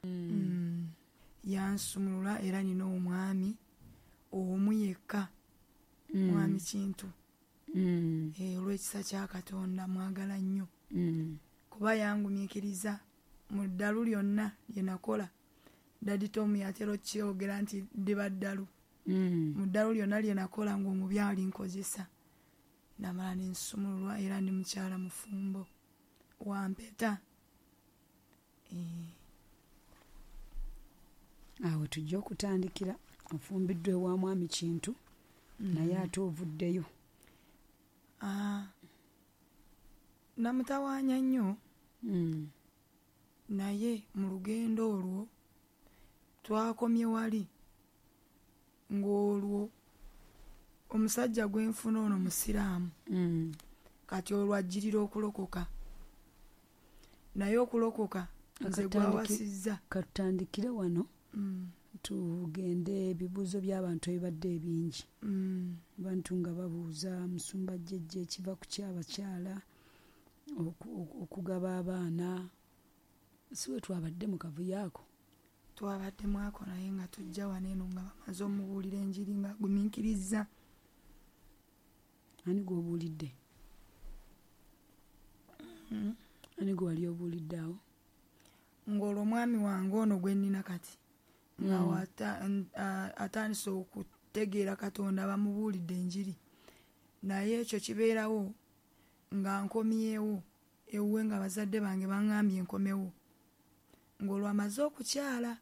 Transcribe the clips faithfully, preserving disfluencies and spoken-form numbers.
Mm. Yansumulula era nina omwami omu yekka, Mm. mwami Kintu. Mm. Eh, olw'ekisa kya Katonda mwagala nnyo. Mm. Kuba yangumiikiriza mu ddalu lyonna lye nakola. Daddy Tom yatera okyogera nti ndiba ddalu. Mm. Mu ddalu lyonna lye nakola ng'omubi ali nkozesa. Namala ne nsumululwa era ndi mukyala mufumbo wa mpeta. Eh. Awo tujja okutandikira. Ofumbiddwa ewa mwami Kintu, Mm. naye ate ovuddeyo. Ah, namutawaanya nnyo. Mm. Naye mu lugendo olwo twakomye wali ng'olwo omusajja gwe nfuna ono musiraamu. Mm. Kati olwo ajjirira okulokoka. Naye okulokoka nze Akatandiki- gwawasizza. Katutandikire wano. Mm. Tugende ebibuuzo by'abantu ebibadde ebingi. Mm. Abantu nga babuuza musumba jjajja ekiva ku ky'abakyala oku-, oku-, okugaba abaana. Si we twabadde mu kavuyo ako? Twabadde mwako naye nga tujja wano eno nga bamaze omubuulira enjiri nga agumiikirizza. Ani gw'obuulidde? Mm. Ani gwe wali obuulidde awo? Ng'olwo omwami wange ono gwe nnina kati nga Mm. wata-, n-, a-, atandise okutegeera Katonda, bamubuulidde enjiri. Naye ekyo kibeerawo nga nkomyewo ewuwe nga bazadde bange baŋŋambye nkomewo. Ng'olwo amaze okukyala,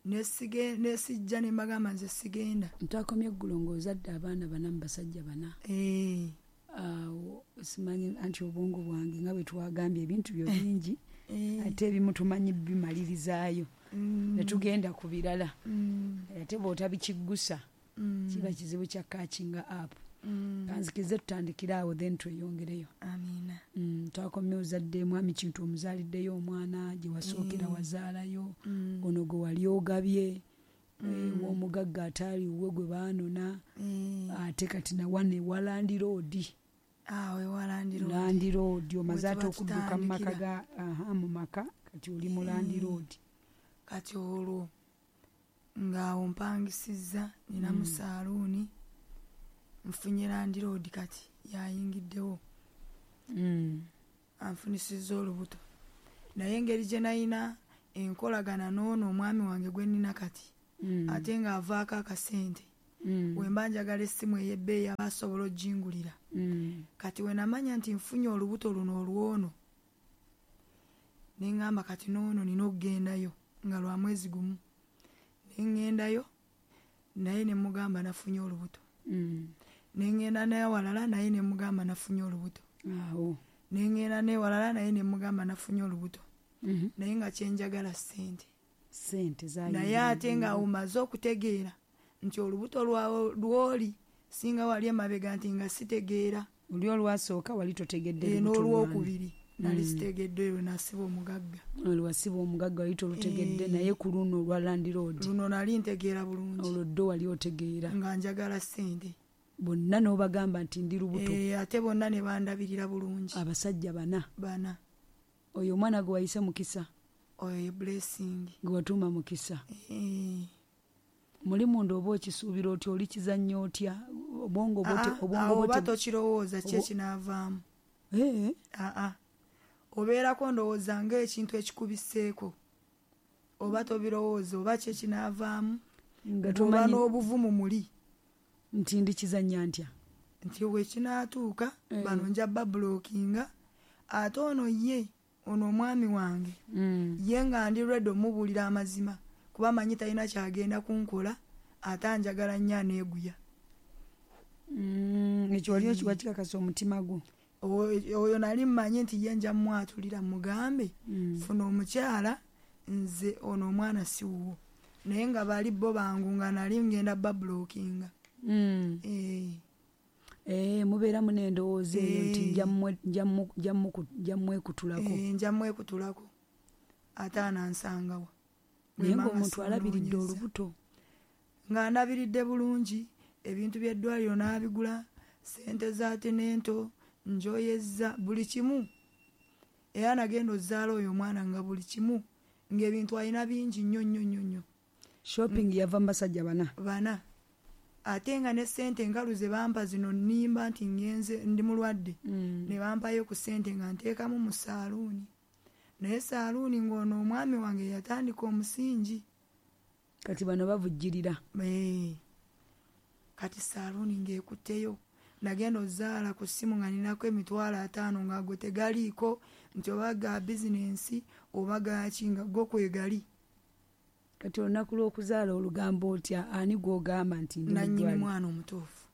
nesige-, nesijja ne mbagamba nze sigenda. Ntwakomye eggulo ng'ozadde abaana bana mu basajja bana. Eh. Awo simanyi anti obwongo bwange nga bwe twagambye ebintu byo bingi, Eh. ate ebimu tumanyi bimalirizaayo. Mm. Ne tugenda ku birala. Mm. Ate bw'otabikiggusa, Mm. kiba kizibu kya catching up. Mm. Kanzikirize tutandikire awo then tweyongereyo. Amiina. Mm, twakomye ozadde mwami Kintu omuzaaliddeyo omwana gye wasookera Mm. wazaalayo, Mm. ono gwe wali ogabye, Mm. eh, w'omugagga ataali wuwe gwe baanona, Mm. ate kati na wano ewa landiroodi. Awo ewa landiroodi. Landiroodi, omaze Bwe ate tuba okudduka mu maka tutandikira. ga, aha, mu maka, kati oli mu Mm. landiroodi. Kati olwo ng'awo mpangisizza, nina mu Mm. saaluuni, nfunye landiroodi kati yayingiddewo. Mm. Anfunisizza olubuto. Naye engeri gye nalina enkolagana n'ono omwami wange gwe nnina kati, Mm. ate ng'avaako akasente. Mm. Bwe mba njagala essimu ey'ebbeeyi aba asobola oggingulira. Mm. Kati we namanya nti nfunye olubuto luno olw'ono, ne ŋŋamba kati n'ono nina okugendayo nga lwa mwezi gumu. Ne ŋŋendayo naye ne mugamba nafunye olubuto. Mm. Ne ŋŋenda naye walala naye ne mugamba nafunye olubuto. Awo. Ne ŋŋenda naye walala naye ne mugamba nafunye olubuto. Mm-hmm. Naye nga kye njagala ssente. Ssente zaali Naye ate nga mm. omaze okutegeera nti olubuto lwa-, lw'oli singa wali emabega nti nga sitegeera. Oli olwasooka wali totegedde Eh, lubuto lwange. n'olwokubiri nali Mm. sitegedde lwe nasiba omugagga. Olwo wasiba omugagga wali tolutegedde, Eh. naye ku luno olwa landiroodi. Luno nali ntegeera bulungi. Olwo ddo wali otegeera. Nga njagala ssente. Bonna n'obagamba nti ndi lubuto. Eh, ate bonna ne bandabirira bulungi. Abasajja bana. Bana. Oyo omwana gwe wayise Mukisa. Oyo ye Blessing. Gwe watuuma Mukisa. Eh. Muli munda oba okisuubira otya, oli kizannya otya? Obwongo bwo te-, Ah, obwongo awo bwo oba te- tokirowooza ki Obo- ekinaavaamu. Eh. Ah, ah. Obeerako ndowooza ng'ekintu ekikubiseeko. Oba tobirowooza oba ki ekinaavaamu. Nga Bw'oba tomanyi n'obuvumu muli. Nti ndi kizannya ntya? Nti we kinaatuuka, Eh. bano nja babulokinga. Ate ono ye, ono omwami wange, Mm. ye nga ndi ready omubuulira amazima. Kuba manyi talina kyagenda kunkola, ate anjagala nnyo aneeguya. Mm, ekyo wali Mm. okiwa kikakasa omutima gwo? Oyo, oyo nali mmanyi nti ye nja mmwatulira mugambe, Mm. funa omukyala, nze ono omwana si wuwo. Naye nga bali bo bangu nga nali ngenda babulokinga. Mm. Eh. Eh, mubeeramu n'endowooza eyo nti Eh. nja mmwe-, nja mmu-, nja mmu-, nja mmwekutulako. Eh, nja mmwekutulako. Ate anansangawa. Naye Bwe mba ng'omuntu alabiridde simunoonyeza. olubuto. Nga ndabiridde bulungi, ebintu by'eddwaliro n'abigula, ssente za tenento, njoyezza buli kimu. Era nagenda ozaala oyo omwana nga buli kimu Ng'ebintu alina bingi nnyo nnyo nnyo nnyo. Shopping yava mu basajja bana. Bana. Ate nga ne ssente enkalu ze bampa zino nnimba nti ngenze ndi mulwadde. Mm. Ne bampayo ku ssente nga nteekamu mu saaluuni. Naye saaluuni ng'ono omwami wange yatandika omusingi. Kati bano bavujjirira. Ee. Kati saaluuni ng'ekutteyo. Nagenda ozaala ku ssimu nga ninako emitwalo ataano nga go tegaliiko nti oba ga bizinensi oba gaki nga go kwegali. Kati olunaku lw'okuzaala olugamba otya ani gw'ogamba nti ndi Nannyini muddwaliro? mwana omutuufu.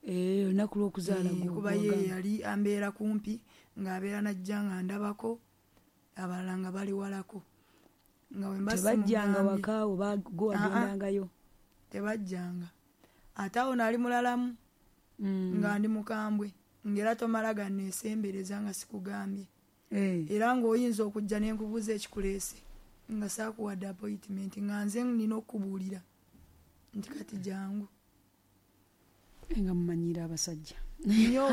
Ee, olunaku lw'okuzaala Ee, gwo- kuba ye gw'ogamba. yali ambeera kumpi ng'abeera najja nga ndabako abalala nga bali walako. Nga bwe mba Tebajjanga simugambye. waka oba gwe Ah, ah. wagendangayo? Tebajjanga. Ate awo nali mulalamu Mm. nga ndi mukambwe ng'era tomala ganneesembereza nga sikugambye. Eh. Era ng'oyinza okujja ne nkubuuza ekikuleese nga saakuwadde appointment nga nze nnina okukubuulira nti kati jangu. Nga mumanyiira abasajja. Nnyo.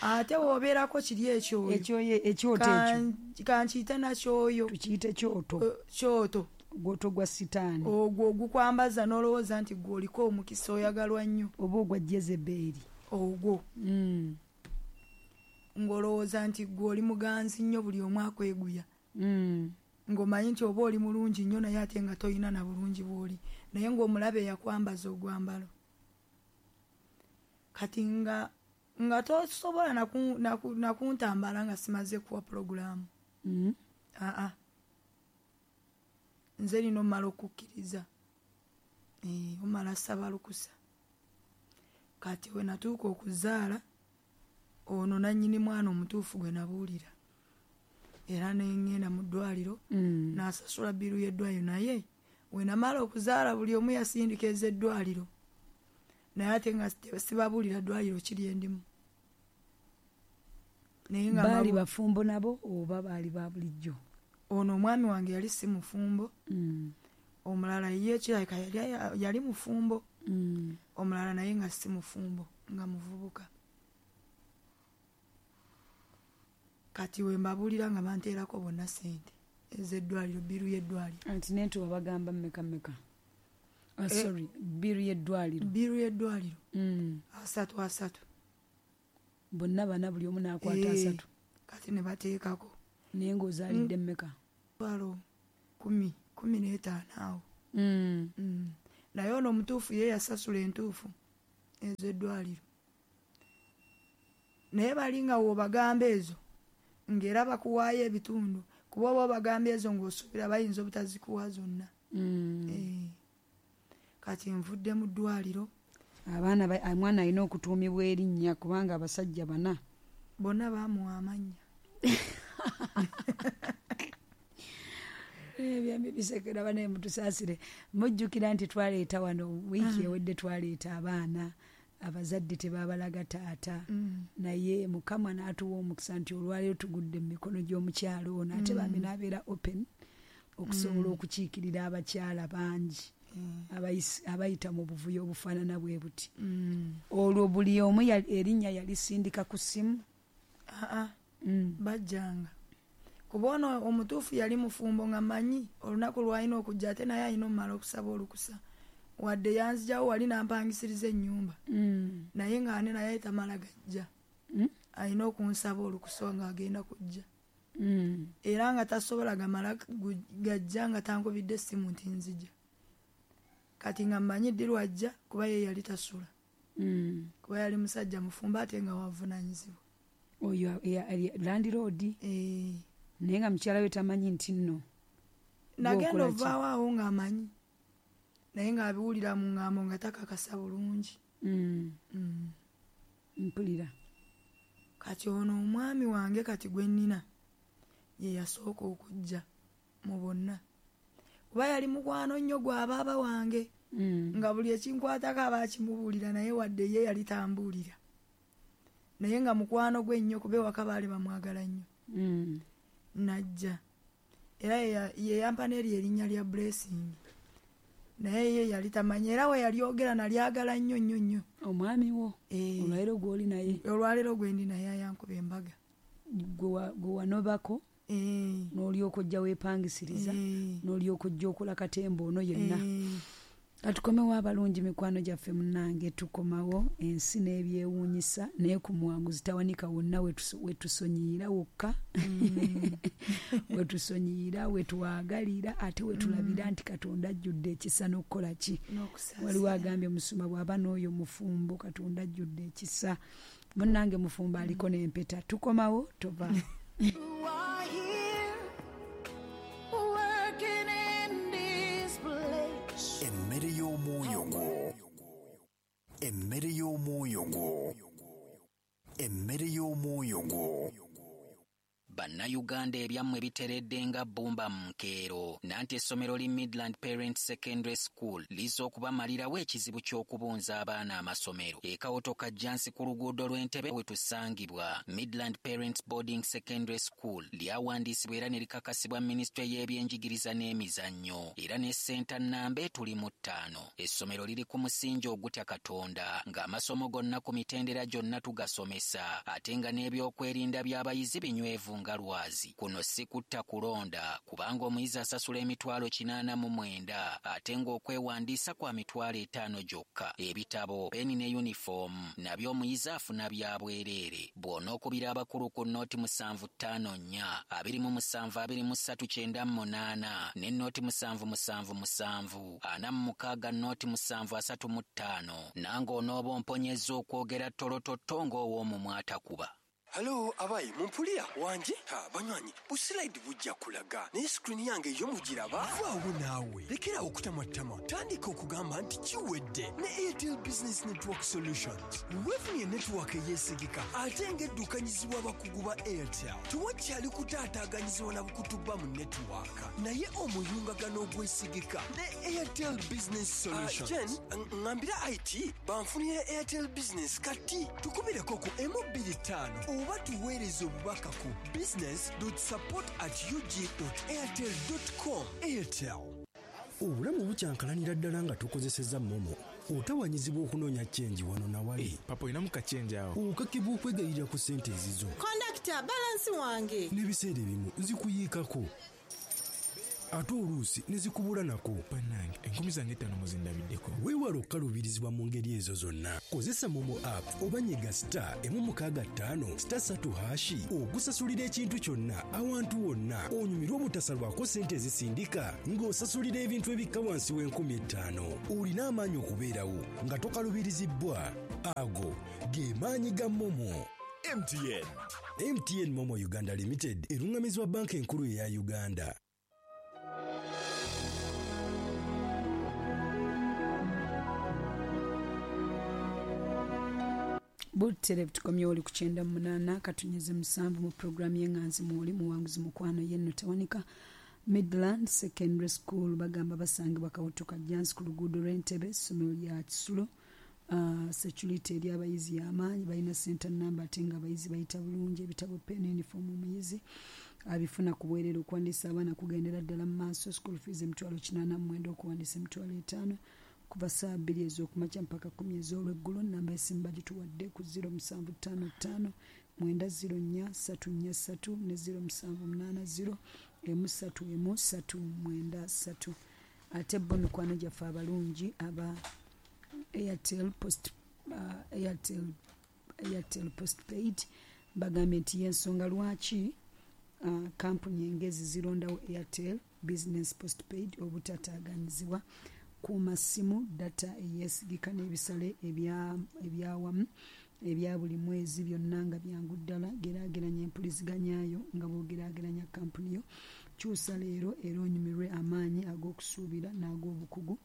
Ate w'obeerako kiri ekyoyo. Ekyoyo, ekyoto ekyo. Kan-, kankiyite nakyoyo. Tukiyite kyoto. Eh, kyoto. Ogwoto gwa sitaani. Ogwo ogukwambaza n'olowooza nti gwe oliko omukisa oyagalwa nnyo. Oba ogwa Jezebeli. Ogwo. Mm. Ng'olowooza nti gwe oli muganzi nnyo buli omu akweguya. Mm. Ng'omanyi nti oba oli mulungi nnyo naye ate nga toyina na bulungi bw'oli. Naye ng'omulabe yakwambaza ogwambalo. Kati nga, nga tosobola naku-, naku-, nakuntambala nga simaze kuwa pulogulaamu. Mm. Aa. Nze nina omala okukkiriza. Eh, omala saba lukusa. Kati we natuuka okuzaala, ono nannyini mwana omutuufu gwe nabuulira. Era ne ŋŋenda mu ddwaliro, Mm. n'asasula bbiiru y'eddwaliro naye we namala okuzaala buli omu yasindika ez'eddwaliro. Naye ate nga sibabuulira ddwaliro kiri endimu. Naye nga Baali mabu- bafumbo nabo oba baali ba bulijjo? Ono omwami wange yali si mufumbo. Mm. Omulala ye kirabika yali, yali mufumbo. Mm. Omulala naye nga si mufumbo, nga muvubuka. Kati we mbabuulira nga banteerako bonna ssente ez'eddwaliro, bbiiru y'eddwaliro. Anti n'entuba bagamba mmeka mmeka? Ah, Eh, sorry, bbiiru y'eddwaliro. Bbiiru y'eddwaliro. Mm. Asatu asatu. Bonna bana buli omu n'akwata Eh, asatu. Kati ne bateekako. Naye ng'ozaalidde Mm. mmeka? Mitwalo kumi, kumi n'etaano awo. Mm. Mm. Naye ono omutuufu ye yasasula entuufu ez'eddwaliro. Naye bali nga w'obagamba ezo ng'era bakuwaayo ebitundu, kuba oba obagamba ezo ng'osuubira bayinza obutazikuwa zonna. Mm. Eh. Kati nvudde mu ddwaliro. Abaana ba-, omwana alina okutuumibwa erinnya kubanga abasajja bana. Bonna baamuwa amannya. Eh, byambi bisekera banaye mutusaasire. Mujjukira nti twaleeta wano wiiki Mm. ewedde twaleeta abaana abazadde tebaabalaga taata. Mm. Naye Mukama n'atuwa omukisa nti olwaleero tugudde mu mikono gy'omukyalo ono ate bambi Mm. n'abeera open okusobola Mm. okukiikirira abakyala bangi Mm. abayis-, abayita mu buvuyo obufaanana bwe buti. Mm. Olwo buli omu yali, erinnya yalisindika ku ssimu? Aa, Mm. bajjanga. Kuba ono omutuufu yali mufumbo nga mmanyi olunaku lw'alina okujja ate naye alina omumala okusaba olukusa. Wadde yanzigyawo wali n'ampangisiriza ennyumba. Mm. Naye ng'ane naye tamala gajja. Mm. Alina okunsaba olukusa ng'agenda kujja. Mm. Era nga tasobola gamala gu-, gajja nga tankubidde essimu nti nzija. Kati nga mmanyi ddi lw'ajja kuba ye yali tasula. Mm. Kuba yali musajja mufumbo ate nga wavunaanyizibwa. Oyo ya-, ya-, landlord? Eh. Naye nga mukyala we tamanyi nti nno. Nagenda Gw'okola ki? ovaawo awo ng'amanyi. Naye ng'abiwulira mu ŋŋambo nga takakasa bulungi. Mm. Mm. Mpulira. Kati ono omwami wange kati gwe nnina ye yasooka okujja mu bonna. Kuba yali mukwano nnyo gwa baaba wange. Mm. Nga buli ekinkwatako aba akimubuulira naye wadde ye yali tambuulira. Naye nga mukwano gwe nnyo kuba ewaka baali bamwagala nnyo. Mm. Najja. Era ye ya-, ye yampa n'eryo erinnya lya Blessing. Naye ye yali tamanyi era we yalyogera nalyagala nnyo nnyo nnyo. Omwami wo? Eh. Olwaleero gw'oli naye? Olwaleero gwe ndi naye ayankuba embaga. Gwe wa-, gwe wanobako? Eh. N'olyoka ojja weepangisiriza, Eh. n'olyoka ojja okola katemba ono yenna. Eh. Katukomewo abalungi mikwano gyaffe munnange, tukomawo ensi n'ebyewuunyisa, naye ku muwanguzi tawanika wonna wetuso-, wetusonyiyira wokka. Mm. Wetusonyiyira, wetwagalira, ate wetulabira Mm. nti Katonda ajjudde ekisa n'okukola ki? N'okusaasira. Waliwo agambye musumba bw'aba n'oyo mufumbo, Katonda ajjudde ekisa. Munnange mufumbo aliko n'empeta. Tukomawo, tova. You are here, working in this place. Emmere y'omwoyo gwo. Emmere y'omwoyo gwo. Emmere y'omwoyo gwo. Bannayuganda ebyammwe biteredde nga bbumba mu nkeero. Nanti essomero li Midland Parents Secondary School lizza okubamalirawo ekizibu ky'okubunza abaana amasomero. E Kawoto Kajjansi ku luguudo lw'Entebbe we tusangibwa. Midland Parents Boarding Secondary School lyawandiisibwa era ne likakasibwa minisitule y'ebyenjigiriza n'emizannyo. Era ne ssenta nnamba etuli mu ttaano. Essomero liri ku musingi ogutya Katonda, ng'amasomo gonna ku mitendera gyonna tugasomesa, ate nga n'ebyokwerinda by'abayizi binywevu nga lwazi. Kuno si kutta kulonda, kubanga omuyizi asasula emitwalo kinaana mu mwenda, ate ng'okwewandiisa kwa mitwalo etaano gyokka. Ebitabo, peni ne yunifoomu nabyo omuyizi afuna bya bwereere. Bw'onookubira abakulu ku nnooti musanvu ttaano nnya, abiri mu musanvu abiri mu ssatu kyenda mu munaana, ne nnooti musanvu musanvu musanvu, ana mu mukaaga nnooti musanvu asatu mu ttaano, nange onooba omponyezza okwogera ttolototto ng'ow'omumwa atakuba. Hello, abayi, mumpulira wanje? Ha, banywanyi, busilayidi bujja kulaga. Naye screen yange yo mugiraba? Vaawo naawe. Lekera okutamattama. Tandika okugamba nti kiwedde ne Airtel Business Network Solutions. Weefunye network eyeesigika ate ng'eddukanyizibwa abakugu ba Airtel. Tewakyali kutaataaganyizibwa na bukutuba mu network. Naye omuyungagano ogwesigika ne Airtel Business Solutions. Ah, Jen, ŋŋambira I T banfunire Airtel Business kati. Tukubireko ku emu bbiri ttaano oba tuweereze obubaka ku business dot support at u g dot airtel dot com. Airtel. Obulamu bukyankalanira ddala nga tukozesezza MoMo. Otawanyizibwa okunoonya chenji wano na wali. Hey, papa olinamu kachenji awo. Okakibwa okwegayirira ku ssente ezizo. Kondakita, balansi wange. N'ebiseera ebimu zikuyiikako. Ate oluusi ne zikubula nako. Bannange, enkumi zange ttaano muzindabiddeko. Weewale okukaluubirizibwa mu ngeri ezo zonna. Kozesa MoMo app oba nyiga star emu mukaaga ttaano star ssatu hashi okusasulira ekintu kyonna awantu wonna onyumirwe obutasalwako ssente ezisindika ng'osasulira ebintu ebikka wansi w'enkumi ettaano. Olina amaanyi okubeerawo nga tokaluubirizibbwa. Ago ge maanyi ga MoMo. M T N. M T N MoMo Uganda Limited eruŋŋamizibwa banka enkulu eya Uganda. Butere tukomye oli ku kyenda mu munaana katunyeze musanvu mu programu y'enganzi mwoli muwanguzi mukwano yenno tewanika. Midland Secondary School bagamba basangibwa Kawoto Kajjansi ku luguudo lw'Entebbe, essomero lya Kisulo. Uh, security eri abayizi y'amaanyi, balina center number ate nga abayizi bayita bulungi, ebitabo, pen, uniform omuyizi abifuna ku bwereere. Okuwandiisa abaana kugendera ddala mu maaso. School fees emitwalo kinaana mu mwenda, okuwandiisa emitwalo etaano kuva ssaawa bbiri ez'okumakya mpaka kkumi ez'olweggulo. Nnamba y'essimu bagituwadde ku zero musanvu ttaano ttaano mwenda zero nnya ssatu nnya ssatu ne zero musanvu munaana zero emu ssatu emu ssatu mwenda ssatu. Ate bo mikwano gyaffe abalungi aba Airtel Post, uh, Airtel, Airtel Postpaid bagambye nti y'ensonga lwaki uh, kampuni engezi zirondawo Airtel Business Postpaid obutataaganyizibwa ku masimu, data eyeesigika n'ebisale ebyawamu ebya buli mwezi byonna nga byangu ddala. Geraageranya empuliziganyayo nga bw'ogeraageranya kampuni yo. Kyusa leero era onyumirwe amaanyi ag'okusuubira n'ag'obukugu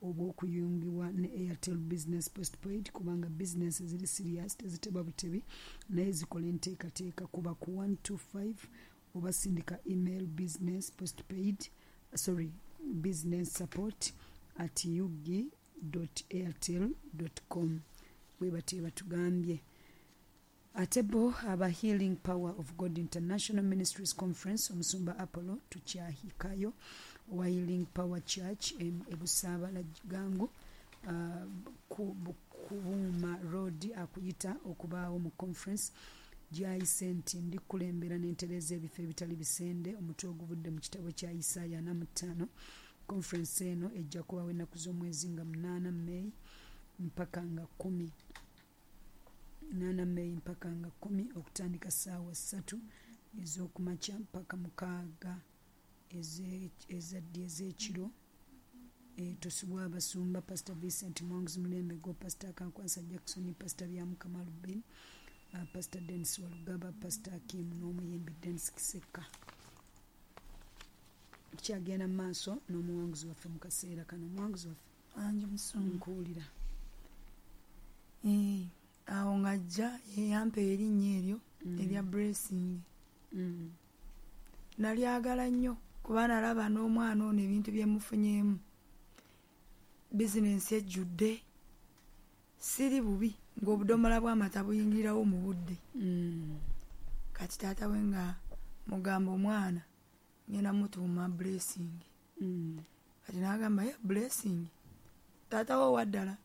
obw'okuyungibwa ne Airtel Business Postpaid, kubanga bizinensi ziri serious, teziteba butebi naye zikola enteekateeka. Kuba ku one two five oba sindika email business postpaid sorry business support at u g dot airtel dot com. Bwe batyo batugambye. Ate bo aba Healing Power of God International Ministries Conference, omusumba Apollo tukyahikayo owa Healing Power Church e Busaabala Gangu, uh, ku Buuma Road, akuyita okubaawo mu conference Gyayise nti ndikulembera n'entereeza ebifo ebitali bisende, omutwe oguvudde mu kitabo kya Isaaya ana mu ttaano. Conference eno ejja kubawo ennaku z'omwezi nga munaana May mpaka nga kkumi. Munaana May mpaka nga kkumi, okutandika ssaawa ssatu ez'okumakya mpaka mukaaga ezaddi ez'ekiro. Tosubwa abasumba Pastor Vincent Mwanguzi Mulembe go, Pastor Kankwasa Jackson, Pastor Byamukama Rubin, uh, Pastor Dennis Walugaba, Pastor Akim n'omuyimbi Dennis Kiseka. Tukyagenda mu maaso n'omuwanguzi waffe mu kaseera kano. Omuwanguzi waffe Angi Musumba, nkuwulira. Eh, awo ng'ajja yeyampa erinnya eryo erya Blessing. Mm. Nalyagala nnyo kuba nalaba n'omwana ono ebintu bye mufunyeemu, bizinensi ejjudde, siri bubi ng'obudomola bw'amata buyingirirawo mu budde. Mm. Kati taata we nga mugamba omwana ngenda mutuuma Blessing. Mm. Kati n'agamba ye Blessing taata we owaddala,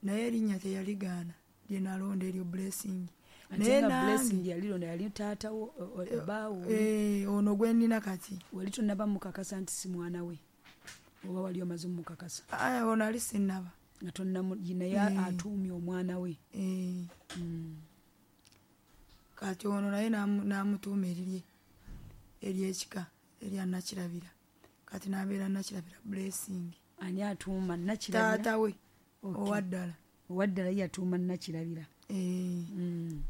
naye erinnya teyaligaana lye nalonda eryo Blessing. Naye nga Blessing yalilonda yali taata wo, bbaawo. Eh, ono gwe nnina kati. Wali tonnaba mukakasa nti si mwana we, oba wali omaze omukakasa? Aya, ono ali sinnaba. Nga tonnamu, naye atuumye omwana we. Eh. Mm. Kati ono naye n'amutuuma erirye ery'ekika erya Nakirabira. Kati n'abeera Nakirabira Blessing. Ani atuuma Nakirabira? Taata we owaddala. Owaddala ye yatuuma Nakirabira. Eh. Mm.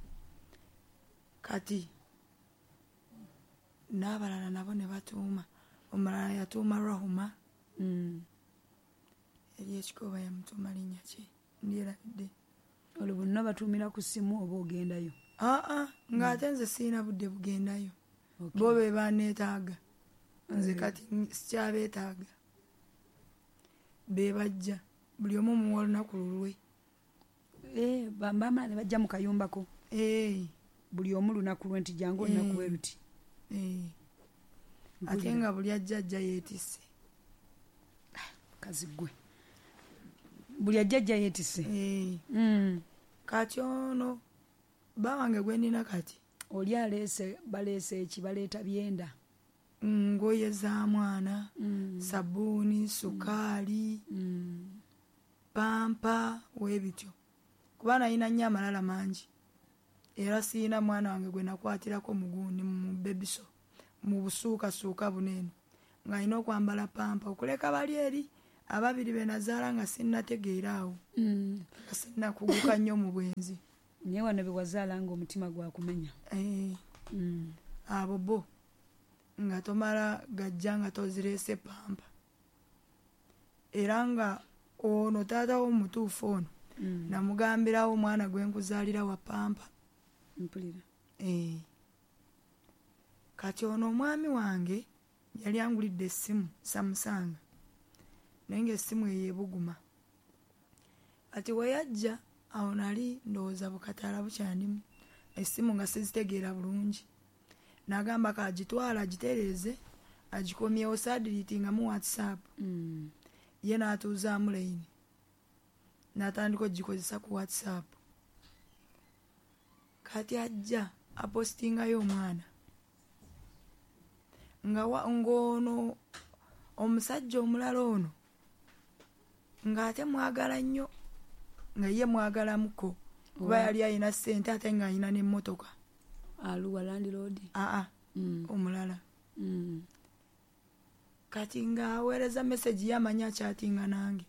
Kati n'abalala nabo ne batuuma. Omulala yatuuma Rahuma. Mm. Ery'ekika oba yamutuuma linnya ki? Ndyerabidde. Olwo bonna batuumira ku ssimu oba ogendayo? Aa, ng'ate nze sirina budde bugendayo. Bo be banneetaaga. Nze kati sikyabeetaaga. Be bajja. Buli omu muwa olunaku lulwe. Eh, bamala ne bajja mu kayumbako. Eh. Buli omu lunaku lwe nti jangu olunaku bwe luti. Eh. Ate nga buli ajja ajja yeetisse. Kazi ggwe. Buli ajja ajja yeetisse. Eh. Mm. Kati ono bba wange gwe nnina kati. Oli aleese, baleese eki, baleeta byenda. Ngoye za mwana, mm. sabbuuni, sukaali, mm. pampa, weebityo. Kuba nalina nnyo amalala mangi. Era sirina mwana wange gwe nakwatirako mugundi mu bebiso, mu busuukasuuka buno eno. Ng'alina okwambala pampa okuleka bali eri ababiri be nazaala nga sinnategeera awo. Mm. Nga sinnakuguka nnyo mu bwenzi. Naye wano be wazaala ng'omutima gwakumenya. Eh. Mm. Abo bo nga tomala gajja nga tozireese pampa. Era nga ono taata wo omutuufu ono mm. namugambirawo omwana gwe nkuzaalira wa pampa. Mpulira. Eh. Kati ono omwami wange yali angulidde essimu Samsung. Naye ng'essimu eyo ebuguma. Kati we yajja awo nali ndowooza bukataala bukyandimu. Essimu nga sizitegeera bulungi. N'agamba k'agitwala agitereeze agikomyewo saadiriitingamu WhatsApp. Mm. Ye n'atuuzaamu layini. N'atandika okugikozesa ku WhatsApp. Kati ajja apostingayo omwana. Nga ng'ono omusajja omulala ono ng'ate mwagala nnyo, nga ye mwagalamuko kuba yali alina ssente ate ng'alina n'emmotoka. Aluwa landlord? Aa, mm. omulala. Mm. Kati ng'aweereza message ye amanyi akyatinga nange.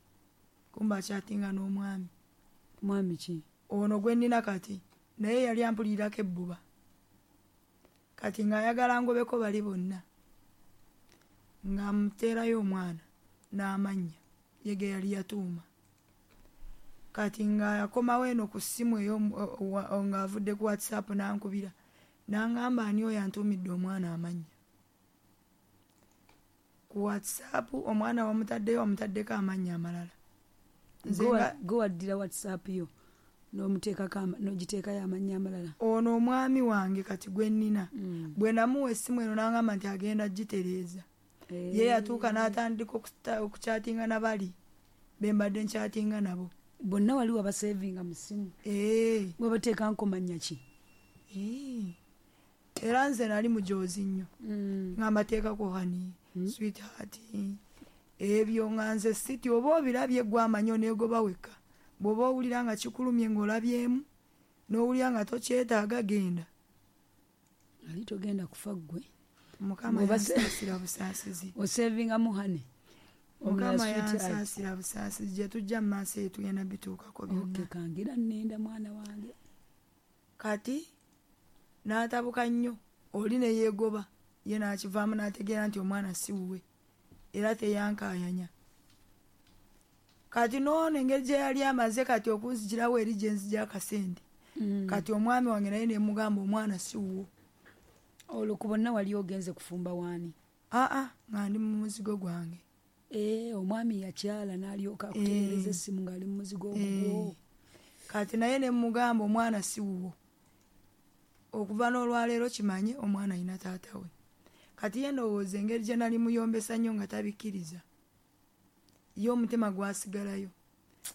Kumbe akyatinga n'omwami. Mwami ki? Ono gwe nnina kati naye yali ampulirako ebbuba. Kati ng'ayagala ngobeko bali bonna. Ng'amuteerayo omwana n'amannya ye ge yali yatuuma. Kati ng'akomawo eno ku ssimu eyo ng'avudde ku WhatsApp n'ankubira. N'angamba ani oyo antuumidde omwana amannya. Ku WhatsApp omwana wamutaddeyo wamutaddeko amannya amalala. Gwe waddira WhatsApp yo n'omuteekako n'ogiteekayo amannya amalala. Ono omwami wange kati gwe nnina mm. bwe namuwa essimu eno n'angamba nti agenda gitereeza. Hey. Ye yatuuka n'atandika okukyatinga na bali be mbadde nkyatinga nabo. Bonna wali wabasevinga mu ssimu. Eh. Gwe bateeka nkomannya ki? Era nze nali mujoozi nnyo. Nga mbateekako honey, sweetheart, ebyo nga nze siti oba obirabye gwe amanyi oneegoba wekka. Bw'oba owulira nga kikulumye ng'olabyemu, n'owulira nga tokyetaaga genda. Ali togenda kufa ggwe. Mukama yansaasira busaasizi. Osevingamu honey. Mukama yansaasira busaasizi, gye tujja mu maaso eyo tugenda bituukako byonna. Okay, kangira nnenda mwana wange. Kati n'atabuka nnyo, oli ne yeegoba, ye n'akivaamu n'ategeera nti omwana si wuwe, era teyankaayanya. Kati n'ono engeri gye yali amaze kati okunzigirawo eri gye nzija akasente. Kati omwami wange naye ne mugamba omwana si wuwo. Olwo ku bonna wali ogenze kufumba waani? Aa, nga ndi mu muzigo gwange. Eh, omwami yakyala n'alyoka akutereereza essimu ng'ali mu muzigo ogwo. Kati naye ne mugamba omwana si wuwo. Okuva n'olwaleero kimanye omwana alina taata we. Kati ye ndowooza engeri gye nali muyombesa nnyo nga tabikkiriza, ye omutima gwasigalayo.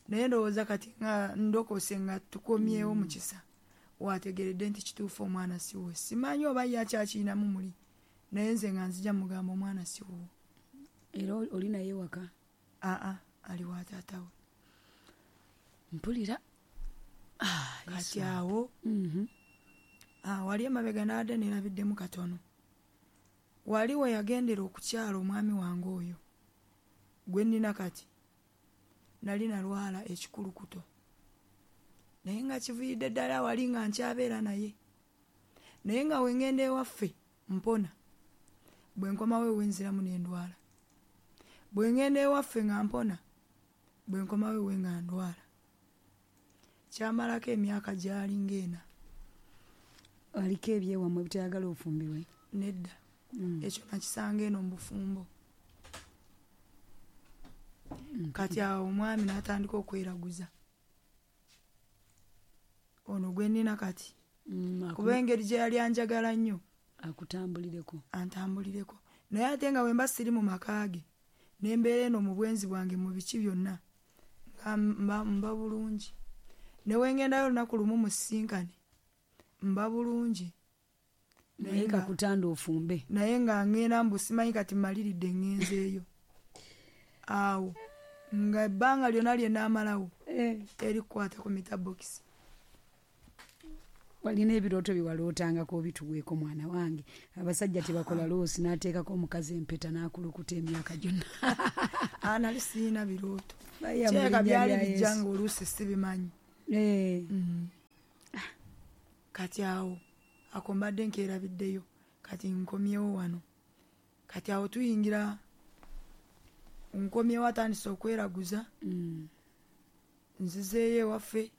Naye ndowooza kati nga ndokose nga tukomyewo mu kisa, wategeredde nti kituufu omwana si wuwe. Simanyi oba ye akyakirinamu muli, naye nze nga nzija mugamba omwana si wuwo. Era oli naye waka? Aa, ali wa taata we. Mpulira. Kati awo wali emabega n'adde neerabiddemu katono. Wali we yagendera okukyala omwami wange oyo gwe nnina kati, nali nalwala ekikulukuto. Naye nga kiviiridde ddala wali nga nkyabeera naye. Naye nga we ŋŋenda ewaffe mpona. Bwe nkomawo ewe nziramu ne ndwala. Bwe ŋŋenda ewaffe nga mpona, bwe nkomawo ewe nga ndwala. Kyamalako emyaka gyali ng'ena. Aliko ebyewammwe bitayagala ofumbirwe? Nedda. Ekyo nakisanga eno mu bufumbo. Kati awo omwami n'atandika okweraguza. Ono gwe nnina kati. Kuba engeri gye yali anjagala nnyo. Akutambulireko. Antambulireko. Naye ate nga bwe mba siri mu maka ge, ne mbeera eno mu bwenzi bwange mu biki byonna, nga mba bulungi. Ne we ŋŋendayo olunaku lumu musisinkane, mba bulungi. Naye kakutanda ofumbe. Naye nga ŋŋenda mbu simanyi kati mmaliridde ŋŋenzeeyo. Awo nga ebbanga lyonna lye nnaamalawo terikukwata ku metabokisi. Walina ebirooto bye walootangako obituweeko mwana wange. Abasajja tebakola loosi n'ateekako omukazi empeta n'akulukuta emyaka gyonna. Aa, nali sirina birooto. Kirabika byali bijja nga oluusi sibimanyi. Kati awo ako mbadde nkeerabiddeyo, kati nkomyewo wano. Kati awo tuyingira, nkomyewo atandise okweraguza. Nzizeeyo ewaffe,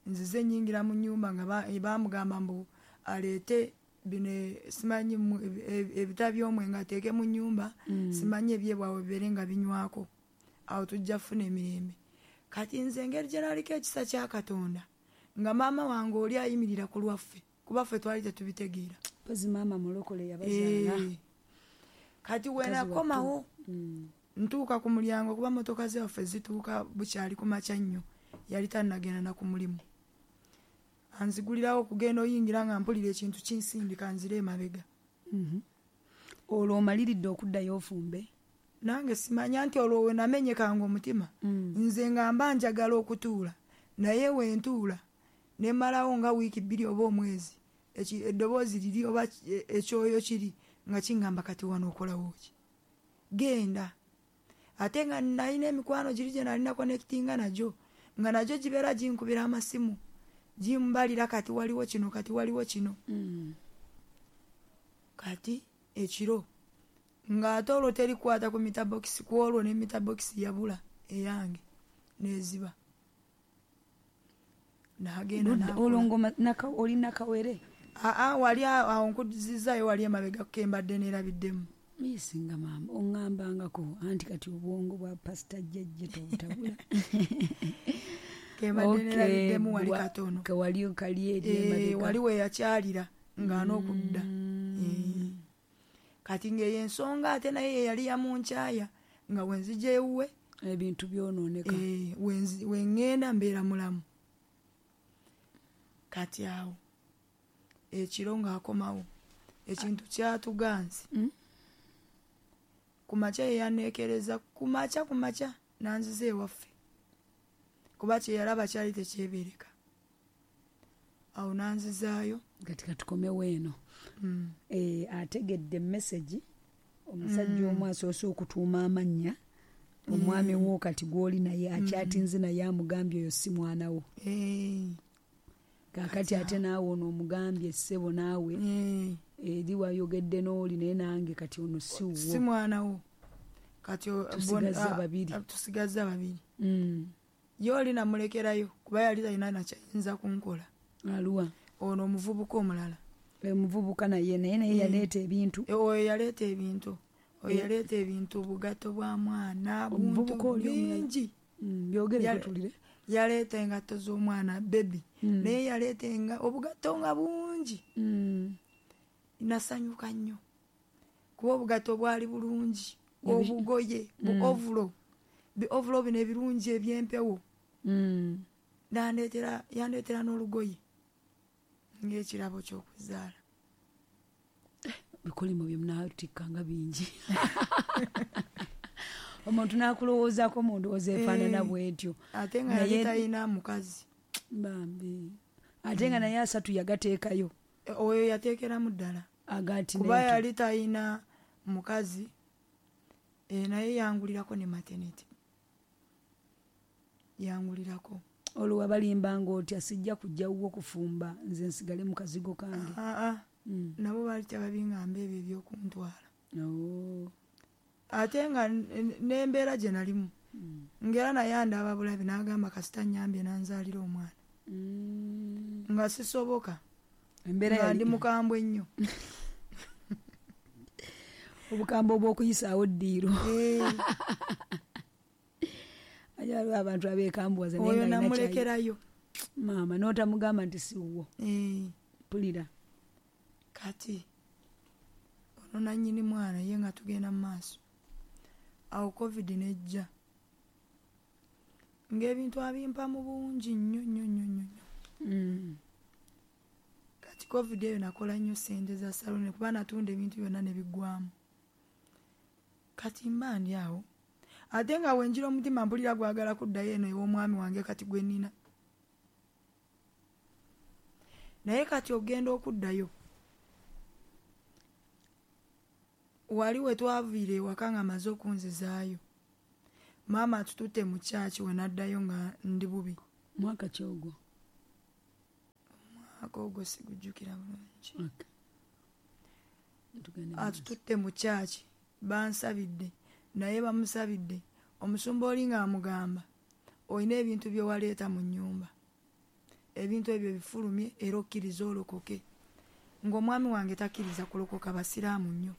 nzize nnyingira mu nnyumba nga baamugamba mbu aleete bino simanyi ebita by'omwenge ateeke mu nnyumba, simanyi ebyebwawe bibeere nga binywako. Awo tujja kufuna emirembe. Kati nze engeri gye naliko ekisa kya Katonda, nga maama wange oli ayimirira ku lwaffe, kuba ffe twali tetubitegeera. Mpozi maama mulokole yabazaala. Kati we nakomawo, ntuuka ku mulyango kuba mmotoka zaffe zituuka bukyali ku makya nnyo, yali tannagenda na ku mulimu. Anzigulirawo okugenda oyingira nga mpulira ekintu kinsindika nzire emabega. Olwo omaliridde okuddayo ofumbe? Nange simanya nti olwo we namenyekanga omutima. Nze nga mba njagala okutuula, naye we ntuula ne mmalawo nga wiiki bbiri oba omwezi, eddoboozi liri oba ekyoyo kiri nga kingamba kati wano okolawo ki? Genda. Ate nga nalina emikwano giri gye nalina connectinga nagyo, nga nagyo gibeera ginkubira amasimu, gimbalira kati waliwo kino, kati waliwo kino. Kati ekiro ng'ate olwo terikwata ku metabokisi, ku olwo ne metabokisi yabula eyange n'eziba. N'agenda Olwo ng'oma oli nakawere? Aa, wali awo nkuzizaayo wali emabega ke mbadde neerabiddemu. Misinga maama oŋŋambangako anti kati obwongo bwa pasita jjajja tobutabula. Ke mbadde neerabiddemu wali katono. Wali kali eri emabega. Wali we yakyalira ng'an'okudda. Kati ng'eyo ensonga ate naye ye yali yamunkyaya nga we nzija ewuwe ebintu byonooneka. We ŋŋenda mbeera mulamu. Kati awo Ekiro ng'akomawo ekintu kyatuganze. Mm. Ku makya ye yanneekereza, ku makya ku makya nanziza ewaffe, kuba kye yalaba kyali tekyebeereka. Awo nanzizaayo. Kati katukomewo eno. Mm. Eh, ategedde message omusajja omu asoose okutuuma amannya omwami wo kati gw'oli naye akyatinze naye amugambye oyo si mwana wo. Eh. Kaakati ate naawe ono omugambye ssebo naawe Eh. eri wayogedde n'oli naye nange kati ono si wuwo. Si mwana wo. Kati o- Tusigazza bona- babiri. a- tusigazza babiri. Mm. Ye oli namulekerayo kuba yali talina nakyayinza kunkola. Aluwa? Ono omuvubuka omulala. Omuvubuka naye naye naye yaleeta ebintu. E, oyo yaleeta ebintu. Oyo yaleeta ebintu, obugatto bwa mwana, buntu Omuvubuka oli omulala. bingi. Mm, byogere Yale- tutulire. Yaleeta engatto z'omwana baby. Mm. Naye yaleeta enga obugatto nga bungi. Mm. Nasanyuka nnyo kuba obugatto bwali bulungi, Ebi- obugoye bu Mm. ovulo, bi ovulo bino ebirungi eby'empewo. Mm. Nandeetera, yandeetera n'olugoye ng'ekirabo ky'okuzaala. Bikolimo bye munaatikka nga bingi. Omuntu n'akulowoozaako mu ndowooza efaanana Eh, bw'etyo. Ate nga yali Naye- talina mukazi. Bambi. Ate nga naye asatu yagateekayo. E, oyo yateekeramu ddala. Agati Kuba n'eto. yali talina mukazi, e, naye yangulirako ne maternity. Yangulirako. Olwo wabalimba ng'otya sijja kujja wuwo kufumba nze nsigale mu kazigo kange. Aa, ah, Mm. nabo baali tebabingamba ebyo ebyokuntwala. Oh. Ate nga n- n- n'embeera gye nalimu Mm. ng'era naye andaba bulabi n'agamba kasita nnyambye n'anzaalira omwana. Mm. Nga sisoboka. Embeera Nga yali ndi mukambwe nnyo. Obukambwe obw'okuyisaawo ddiiro. Eh. Aye waliwo abantu abeekambuwaza naye Oyo nga alina kyayi- namulekerayo. Maama n'otamugamba nti si wuwo. Eh. Mpulira. Kati ono nannyini mwana ye nga tugenda mu maaso. Awo COVID n'ejja. Ng'ebintu abimpa mu bungi nnyo nnyo nnyo nnyo nnyo. Mm. Kati COVID eyo nakola nnyo ssente za saloni kuba natunda ebintu byonna ne biggwamu. Kati mba ndi awo. Ate nga we njira omutima mpulira gwagala kuddayo eno ew'omwami wange kati gwe nnina. Naye kati ogenda okuddayo. Wali we twaviira ewaka nga amaze okunzizaayo. Maama atututte mu kyaki we naddayo nga ndi bubi. Mwaka ki ogwo? Omwaka ogwo sigujjukira bulungi. Okay. Tugende mu maaso. Atututte mu kyaki, bansabidde, naye bamusabidde. Omusumba oli ng'amugamba, olina ebintu bye waleeta mu nnyumba. Ebintu ebyo bifulumye era okkirize olokoke. Ng'omwami wange takkiriza kulokoka, basiraamu nnyo.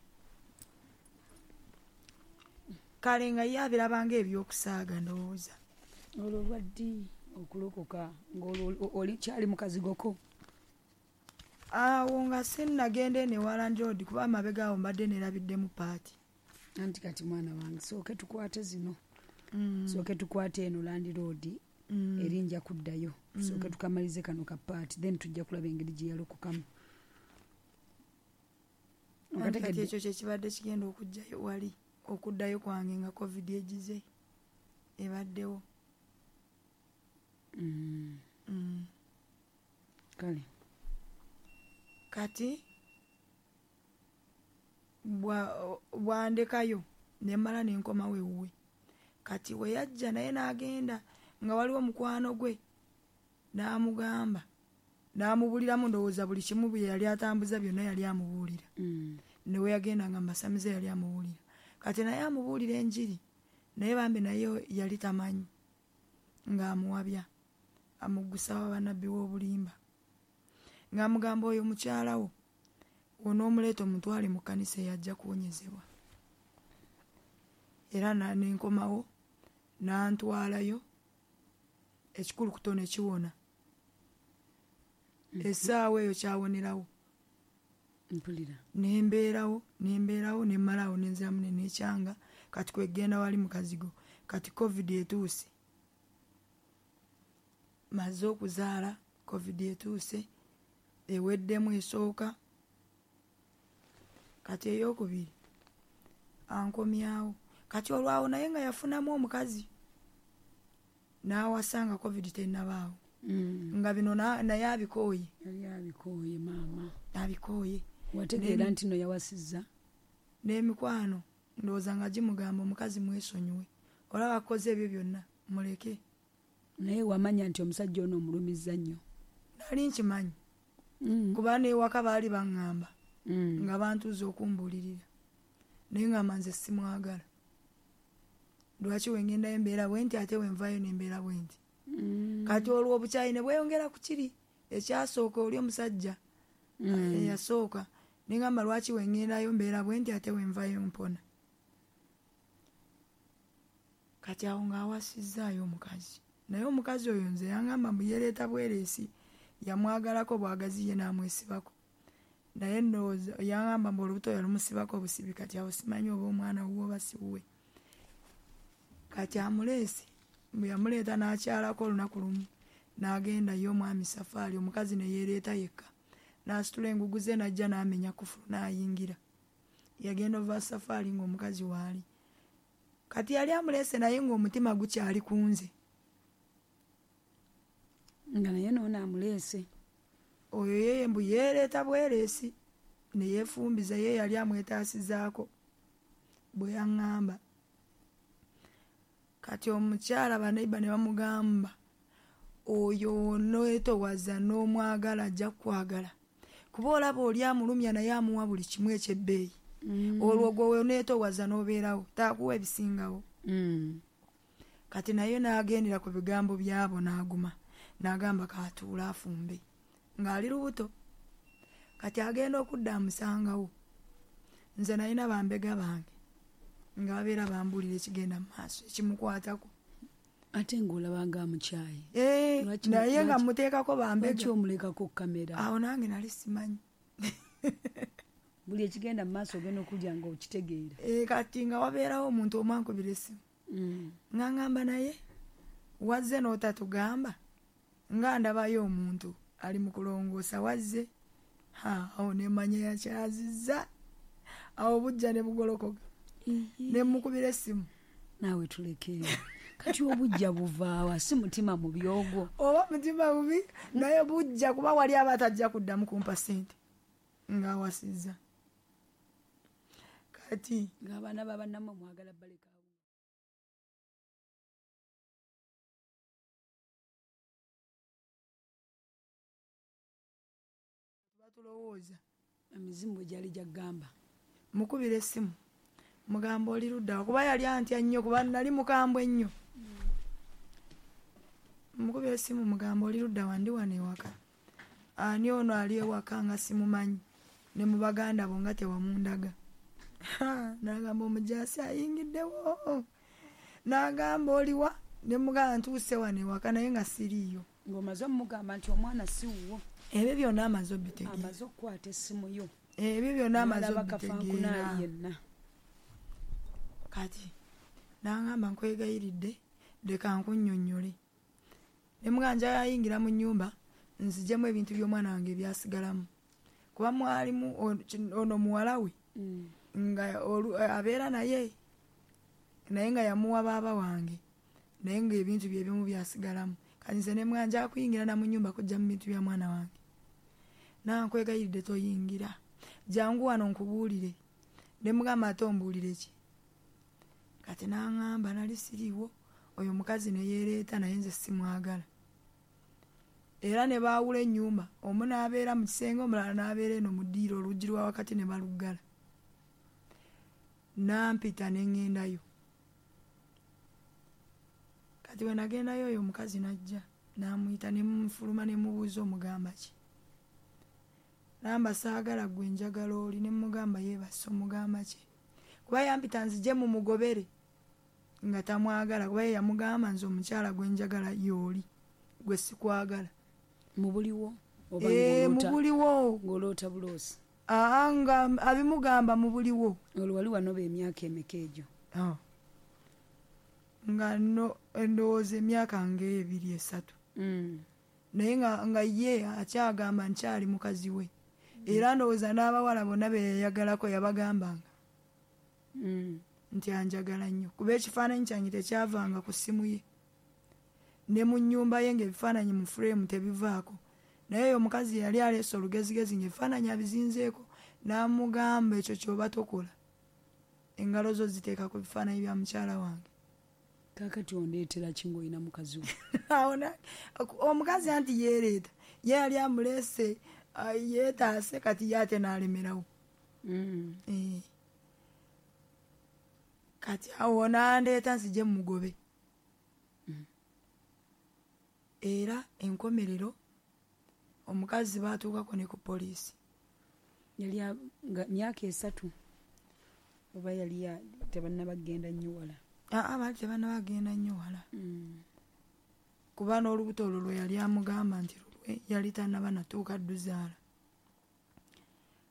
Kale nga ye abiraba ng'ebyokusaaga ndowooza. Olwo lwa ddi okulokoka ng'olwo oli kyali mu kazigoko? Awo nga sinnagenda eno ewa landlord kuba amabega awo mbadde neerabiddemu paati. Anti kati mwana wange sooke tukwate zino. Mm. Sooke tukwate eno landlord Mm. eri nja kuddayo. Mm. Sooke tukamalize kano ka paati then tujja kulaba engeri gye yalokokamu. Anti kati Okategedde? ekyo kye kibadde kigenda okujjayo wali okuddayo kwange nga COVID egize ebaddewo. Mm. Mm. Kale. Kati bwa-, bwandekayo ne mmala ne nkomawo ewuwe. Kati we yajja naye n'agenda nga waliwo mukwano gwe n'amugamba n'amubuliramu ndowooza buli kimu bye yali atambuza byonna yali amubuulira. Mm. Ne we yagenda nga mbasamize yali amubuulira. Kati naye amubuulira enjiri naye bambi naye yali tamanyi ng'amuwabya amugusa wa bannabbi w'obulimba. Ng'amugamba oyo mukyala wo onoomuleeta omutwale mu kkanisa eyajja kuwonyezebwa. Era na-, ne nkomawo n'antwalayo ekikulukuto ne kiwona. Mm-hmm. Essaawa eyo kyawonerawo. Mpulira. Ne mbeerawo, ne mbeerawo, ne mmalawo ne nziramu ne neekyanga kati kwegenda wali mu kazigo. Kati COVID etuuse. Maze okuzaala, COVID etuuse. Eweddemu esooka. Kati eyokubiri ankomyawo. Kati olwawo naye nga yafunamu omukazi n'awasanga COVID tennabaawo. Mm. Nga bino naye abikooye. Yali abikooye maama. Abikooye. Wategeera nti no yawasizza? N'emikwano ndowooza nga gimugamba omukazi mwesonyiwe. Olaba akoze ebyo byonna muleke. Naye wamanya nti omusajja ono omulumizza nnyo? Nali nkimanyi. Mm. Kuba n'ewaka baali baŋŋamba. Mm. Nga bantuuza okumbuulirira. Naye ngamba nze simwagala. Lwaki we ngendayo embeera bwe nti ate we nvaayo n'embeera bwe nti. Mm. Kati olwo obukyayi ne bweyongera ku kiri ekyasooka oli omusajja mm. eyasooka. Ne ngamba lwaki we ngendayo mbeera bwe nti ate we nvaayo mpona. Kati awo ng'awasizzaayo omukazi. Naye omukazi oyo nze yangamba mbu yeereeta bwereesi, yamwagalako bwagazi ye n'amwesibako. Naye ndowooza yangamba mbu olubuto yalumusibako obusibi, kati awo simanyi oba omwana wuwe oba si wuwe. Kati amuleese, mbu yamuleeta n'akyalako olunaku lumu, n'agenda ye omwami safaari, omukazi ne yeereeta yekka. N'asitula engugu ze n'ajja n'amenya kufulu n'ayingira. Yagenda ova safaari ng'omukazi waali. Kati yali amuleese naye ng'omutima gukyali ku nze. Nga naye n'ono amuleese. Oyo ye mbu yeereeta bwereesi ne yeefumbiza, ye yali amwetaasizaako bwe yaŋŋamba. Kati omukyala baneiba ne bamugamba oyo oneetowaza n'omwagala ajja kukwagala. Kuba olaba oli amulumya naye amuwa buli kimu eky'ebbeeyi. Mm. Olwo gwe oneetowaza n'obeerawo taakuwa ebisingawo. Mm. Kati naye n'agendera ku bigambo byabo n'aguma. N'agamba katuula afumbe ng'ali lubuto. Kati agenda okudda amusangawo. Nze nalina bambega bange nga babeera bambuulira ekigenda mu maaso ekimukwatako. Ate ng'olaba nga amukyaye. Eh, naye nga mmuteekako bambega. Lwaki omulekako kamera? Awo nange nali simanyi. Buli ekigenda mu maaso ogenda okulya ng'okitegeera. Eh, kati nga wabeerawo omuntu omu ankubira essimu. Mm. Nga ngamba naye wazze n'otatugamba nga ndabayo omuntu ali mu kulongoosa wazze. Ha, awo ne mmanya yakyazizza. Awo bujja ne bugolokoka. Ne mmukubira essimu. Naawe tuleke. Kati obujja buvaawa si mutima mubi ogwo. Oba mutima mubi naye bujja kuba wali aba atajja kuddamu kumpa ssente ng'awasizza. Kati ng'abaana ba bannammwe mwagala baleka. Tulowooza emizimu bwe gyali gyagamba. Mukubira essimu mugamba oli ludda kuba yali antya nnyo kuba nali mukambwe nnyo. Mukubira essimu mugamba oli ludda wandi wano ewaka. Ani ono ali ewaka nga simumanyi ne mu baganda bo nga tewamundaga. N'agamba omujaasi ayingiddewo. N'agamba oliwa ne mugamba ntuuse wano ewaka naye nga siriiyo. Ng'omaze omugamba nti omwana si wuwo. Ebyo byonna amaze obitegeera. Amaze okukwata essimu yo. Ebyo byonna amaze obitegeera. Kati n'angamba nkwegayiridde leka nkunnyonnyole. Ne mugamba njagala mu nnyumba nzigyemu ebintu by'omwana wange ebyasigalamu. Kuba mwalimu ono muwala we nga abeera naye naye nga yamuwa baaba wange naye ng'ebintu bye ebimu byasigalamu. Kati nze ne mugamba njagala kuyingira na mu nnyumba kuggyamu bintu bya mwana wange. Nankwegayiridde toyingira. Jangu wano nkubuulire. Ne mugamba ate ombuulire ki? Kati n'aŋŋamba nali siriiwo oyo omukazi ne yeereeta naye nze simwagala. Era ne baawula ennyumba, omu n'abeera mu kisenge omulala n'abeera eno mu ddiiro oluggi lwa wakati ne baluggala. Nampita ne ŋŋendayo. Kati bwe nagendayo oyo omukazi n'ajja n'amuyita ne munfuluma ne mubuuza omugamba ki. Namba saagala gwe njagala oli ne mugamba yeebase omugamba ki. Kuba yampita nzije mumugobere nga tamwagala kuba ye yamugamba nze omukyala gwe njagala y'oli gwe sikwagala. Mu buliwo oba Eh, mu buliwo. Ng'oloota buloosi. Aa nga abimugamba mu buliwo. Olwo wali wanoba emyaka emeka egyo? Ah. Nga no endowooza emyaka ng'ebiri esatu. Mm. Naye nga, nga ye akyagamba nkyali mukazi we. Era ndowooza n'abawala bonna be yayagalako yabagambanga Mm. nti anjagala nnyo, kuba ekifaananyi kyange tekyavanga ku ssimu ye, ne mu nnyumba ye ng'ebifaananyi mu fureemu tebivaako. Naye oyo omukazi yali aleese olugezigezi ng'ebifaananyi abizinzeeko, n'amugamba ekyo ky'oba tokola, engalo zo ziteeka ku bifaananyi bya mukyala wange. Kaakati ondeetera ki ng'olina mukazi wo? Awo na- omukazi anti yeereeta, ye yali amuleese, ah, yeetaase, kati ye ate n'alemerawo. Mm. Eh. Kati awo n'andeeta nzije mugobe. Era enkomerero omukazi baatuukako ne ku poliisi. Yali a- nga myaka esatu oba yali ya- tebannaba kugenda nnyo wala? Aa, baali tebannaba kugenda nnyo wala, Mm. kuba n'olubuto olwo lwe yali amugamba nti lulwe yali tannaba natuuka dduzaala.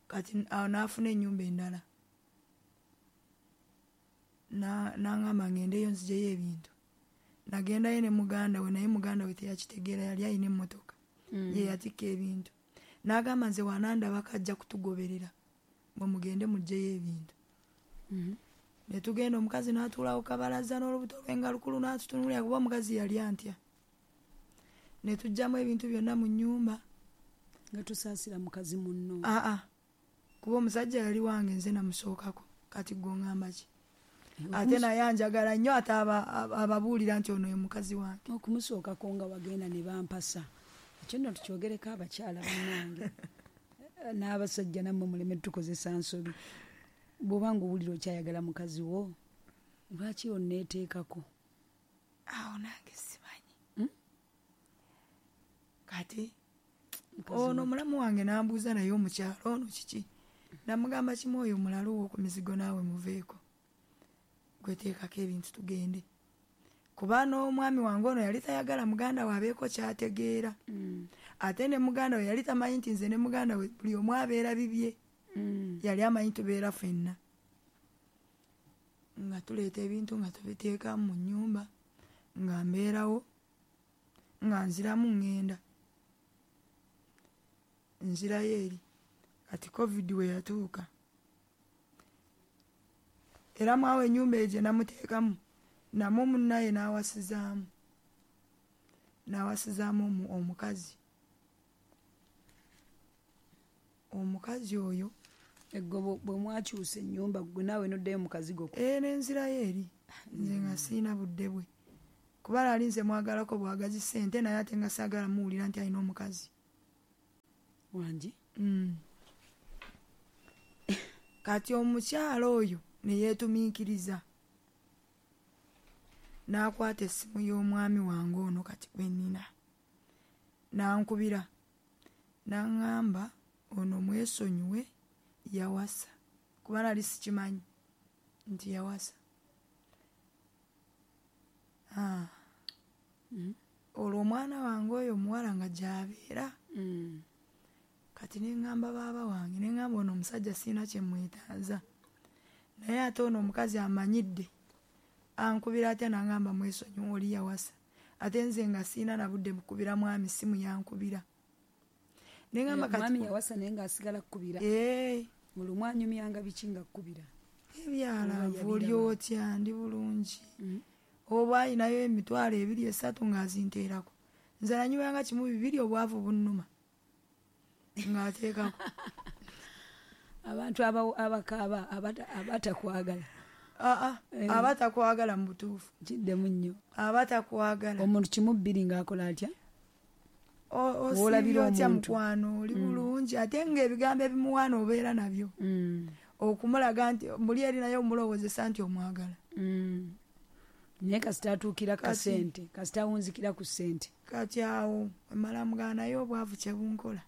Kati awo n'afuna ennyumba endala, Na- n'aŋŋamba ngendeyo nzijeyo ebintu. Nagendayo ne muganda we, naye muganda we teyakitegeera, yali alina emmotoka Mm. ye yatikka ebintu. N'agamba nze wanandabako ajja kutugoberera, mwe mugende muggyeyo ebintu. Mhm. Ne tugenda, omukazi n'atuulawo kabalaza n'olubuto lwe nga lukulu, n'atutunuulira, kuba omukazi yali antya. Ne tuggyamu ebintu byonna mu nnyumba. Nga tusaasira mukazi munno? Aa, kuba omusajja yali wange, nze namusookako. Kati gwe oŋŋamba ki? Ate naye anjagala nnyo, ate aba- aba- ababuulira nti ono ye mukazi wange. Okumusookako nga wagenda ne bampasa, ekyo nno tukyogereko abakyala bannange n'abasajja, nammwe muleme tukozesa nsobi. Bw'oba nga owulira okyayagala mukazi wo, lwaki onneeteekako? Awo nange simanyi. Hmm? Kati Mukazi ono wo. mulamu wange n'ambuuza, naye omukyalo ono kiki? Namugamba kimu, oyo mulalu wo ku mizigo, naawe muveeko, gweteekako ebintu tugende. Kuba n'omwami wange ono yali tayagala muganda we abeeko kyategeera, Mm. ate ne muganda we yali tamanyi nti nze ne muganda we buli omu abeera bibye. Mm. Yali amanyi tubeera ffenna, nga tuleeta ebintu nga tubiteeka mu nnyumba, nga mbeerawo, nga nziramu ŋŋenda nzirayo eri. Kati COVID we yatuuka, era mwawo ennyumba eyo gye namuteekamu, namwo munnaye n'awasizaamu n'awasizaamu omu- omukazi omukazi oyo. Eggo bwe- bwe mwakyusa ennyumba, gwe naawe noddayo mu kazigo ko? Ee, nenzirayo eri, nze nga siina budde bwe, kuba lali nze mwagalako bwagazi ssente, naye ate nga saagala muwulira nti alina omukazi. Wangi? Mm. Kati omukyala oyo ne yeetumiikiriza n'akwata essimu y'omwami wange ono kati gwe nnina, n'ankubira n'aŋŋamba ono mwesonyiwe, yawasa. Kuba nali sikimanyi nti yawasa. Ah. Mm. Olwo omwana wange oyo omuwala nga gy'abeera. Mm. Kati ne ŋŋamba baaba wange, ne ŋŋamba ono omusajja sirina kye mwetaaza, naye ate ono omukazi amanyidde, ankubira atya n'aŋŋamba mwesonyiwe, oli yawasa? Ate nze nga sirina na budde bukubira mwami simu, yankubira. Ne ŋŋamba kati Omwami yawasa naye ng'asigala kkubira? Ee. Olumu anyumyanga biki nga kkubira? Ebyalaavu, Oba oli yabiraba? otya, ndi bulungi. Mm. Oba alinayo emitwalo ebiri esatu ng'azinteerako. Nze nanywanga kimu bibiri, obwavu bunnuma, ng'ateekako. Abantu aba- abakaaba abata- abatakwagala. Aa, Eh. aba takwagala mu butuufu. Kiddemu nnyo. Aba takwagala. Omuntu kimu bbiri ng'akola atya? O- W'olabira osiibye otya? omuntu. Mukwano, oli bulungi? Ate ng'ebigambo ebimuwaana obeera nabyo, Mm. okumulaga nti muli eri, naye omulowoozesa nti omwagala. Mm. Naye kasita atuukira ku Kati- kasente, kasita awunzikira ku ssente. Kati awo emala mugana, naye obwavu kyebunkola,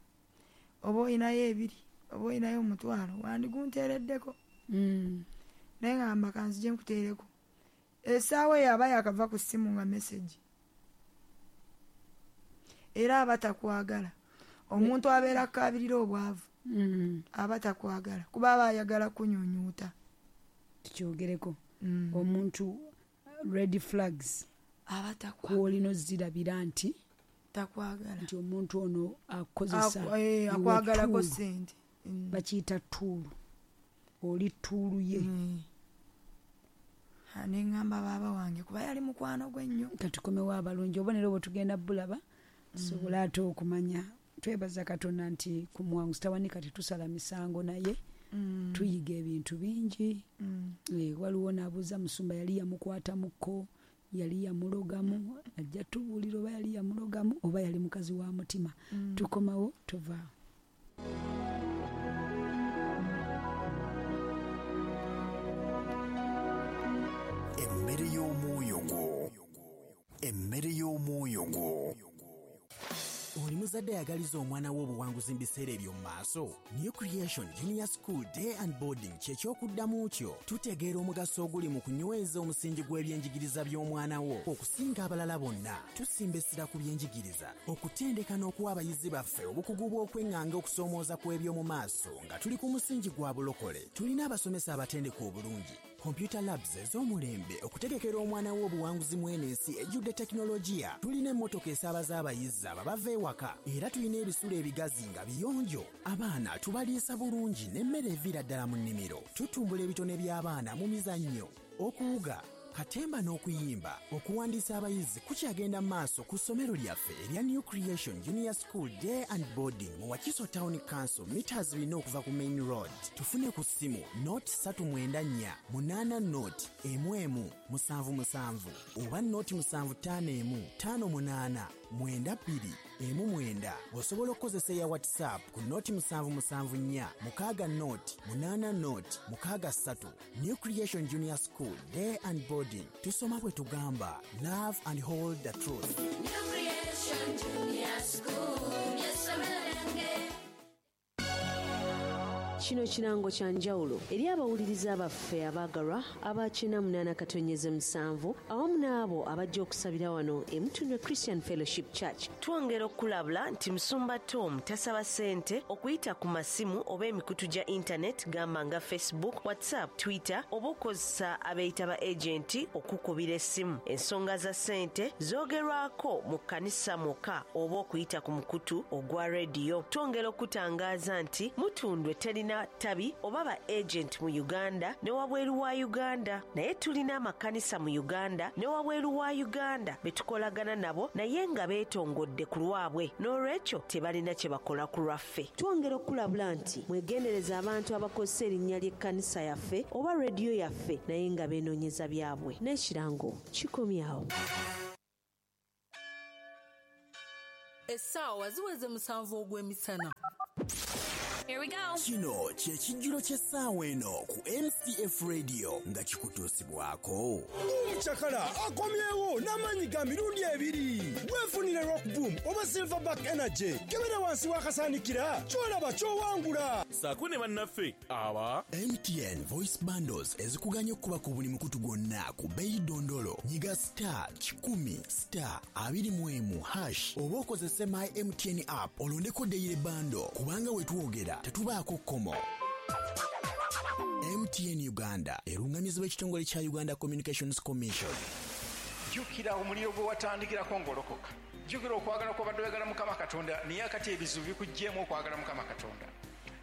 oba olinayo ebiri, oba olinayo omutwalo, wandigunteereddeko. Mm. Naye ngamba kanzije nkuteereko. Essaawa eyo aba yakava ku ssimu nga mesagi. Era aba takwagala. Omuntu abeera akaabirira obwavu, Mm. aba takwagala, kuba aba ayagala kunyunyuuta. Tukyogereko. Mm. Omuntu, red flags Aba takwagala. Kwolina ozirabira nti Takwagala. Nti omuntu ono akozesa eh, akwagalako sente. Mm. Bakiyita tuulu. Oli tuulu ye. Mm. Nengamba baba wange kuba yali mukwano gwe nnyo. Katukomewo abalungi obubonero bwe tugenda bulaba tusobola ate okumanya. Twebaza Katonda nti ku Muwanguzi Tawanika tetusala misango naye mm. tuyiga ebintu bingi. Mm. E, waliwo n'abuuza musumba yali yamukwatamuko, yali yamulogamu, ajja tubuulira oba yali yamulogamu oba yali mukazi wa mutima. Mm. Tukomawo tovaawo. Emmere y'omwoyo gwo. Emmere y'omwoyo gwo. Oli muzadde ayagaliza omwana we obuwanguzi mu biseera eby'omu maaso. New Creation Junior School Day and Boarding kye ky'okuddamu kyo. Tutegeera omugaso oguli mu kunyweza omusingi gw'ebyenjigiriza by'omwana wo okusinga abalala bonna. Tusimba essira ku byenjigiriza, okutendeka n'okuwa abayizi baffe obukugu bw'okweŋŋanga okusoomooza kw'eby'omu maaso nga tuli ku musingi gwa bulokole. Tulina abasomesa abatendeka obulungi, computer labs ez'omulembe okutegekera omwana wo obuwanguzi mu eno ensi ejjudde tekinologiya. Tulina emmotoka esaabaza abayizi abava ewaka, era tulina ebisulo ebigazi nga biyonjo. Abaana tubaliisa bulungi n'emmere eviira ddala mu nnimiro. Tutumbula ebitone by'abaana mu mizannyo, okuwuga, katemba n'okuyimba. Okuwandiisa abayizi kukyagenda mu maaso ku ssomero lyaffe erya New Creation Junior School Day and Boarding mu Wakiso Town Council, meters bina okuva ku main road. Tufune ku ssimu nought ssatu mwenda nnya munaana nought emu emu musanvu musanvu oba nought musanvu ttaano emu ttaano munaana mwenda bbiri emu mwenda. Osobola okukozesa eya WhatsApp ku nought musanvu musanvu nnya mukaaga nought munaana nought mukaaga ssatu. New Creation Junior School Day and Boarding. Tusoma bwe tugamba, love and hold the truth. New Creation Junior School, ly'essomero lyange. Kino kirango kya njawulo eri abawuliriza baffe abaagalwa aba kyenda munaana katonyeze musanvu awamu n'abo abajja okusabira wano e Mutundwe Christian Fellowship Church. Twongera okulabula nti Musumba Tom tasaba ssente okuyita ku masimu oba emikutu gya internet gamba nga Facebook, WhatsApp, Twitter oba okukozesa abeeyita ba agenti okukubira essimu. Ensonga za ssente zoogerwako mu kkanisa mwokka oba okuyita ku mukutu ogwa rediyo. Twongera okutangaaza nti Mutundwe terina tabi oba ba agent mu Uganda ne wabweru wa Uganda, naye tulina amakanisa mu Uganda ne wabweru wa Uganda betukolagana nabo naye nga beetongodde ku lwabwe, n'olwekyo tebalina kye bakola ku lwaffe. Twongera okulabula nti mwegendereza abantu abakozesa erinnya ly'ekkanisa yaffe oba rediyo yaffe naye nga beenoonyeza byabwe. N'ekirango kikomyawo. Essaawa ziweze musanvu ogw'emisana. Here we go. Kino kye kijjulo ky'essaawa eno ku M C F Radio nga kikutuusibwako. Omukyakala akomyewo n'amaanyi ga mirundi ebiri. Weefunire Rock Boom oba Silverback Energy. Kebera wansi w'akasaanikira ky'olaba ky'owangula. Saako ne bannaffe aba M T N Voice Bundles ezikuganya okuba ku buli mukutu gwonna ku bbeeyi dondolo. Nyiga star kikumi star abiri mu emu hash oba okozese My M T N app olondeko daily bundle kubanga we twogera tetubaako kkomo. M T N Uganda erungamizibwa ekitongole kya Uganda Communications Commission. Jjukira omuliro gwe watandikirako ng'olokoka. Jjukira okwagala kw'obadde oyagala Mukama Katonda, naye akati ebizibu bikuggyeemu okwagala Mukama Katonda.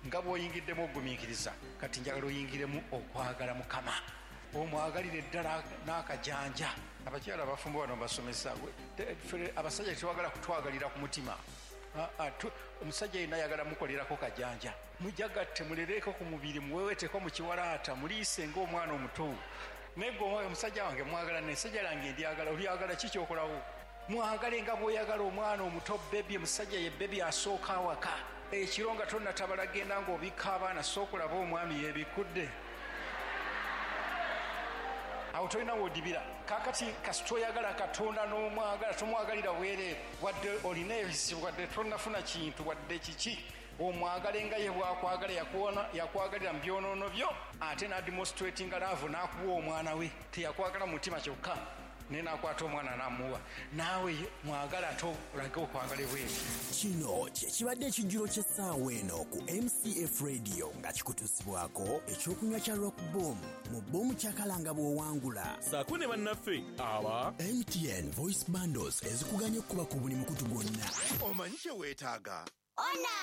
Nga bw'oyingiddemu ogumiikiriza, kati njagala oyingiremu okwagala Mukama. Omwagalire ddala n'akajanja. Abakyala abafumbo bano mbasomesa, abasajja tebagala kutwagalira ku mutima. Omusajja yenna ayagala mukolerako kajanja. Mujagatte mulereko ku mubiri, muweweteko mu kiwalaata, muliise ng'omwana omuto. Naye gwe omusajja wange mwagala, n'essajja lange ndyagala, olyagala ki ky'okolawo? Mwagale nga bw'oyagala omwana omuto bebi, omusajja ye bebi asooka awaka. Ekiro nga tonnatabala genda ng'obikka abaana, sooka olaba omwami yeebikkudde. Awo tolina w'odibira. Kaakati kasita oyagala Katonda n'omwagala, tomwagalira bwereere. Wadde olina ebizibu, wadde tonnafuna kintu, wadde kiki, omwagale nga ye bw'akwagala, yakwagalira mu byonoono byo, ate n'ademonstratinga love n'akuwa omwana we. Teyakwagala mu mutima kyokka, Naye nakwata omwana namuwa. Naawe mwagala ate olage okwagala ebweru. Kino kye kibadde ekijjulo ky'essaawa eno ku M C F Radio nga kikutuusibwako ekyokunywa kya Rock Boom mu Boom kyakalanga bw'owangula. Saako ne bannaffe aba M T N Voice Bundles ezikuganya okukuba ku buli mukutu gwonna. Omanyi kye weetaaga? Ona!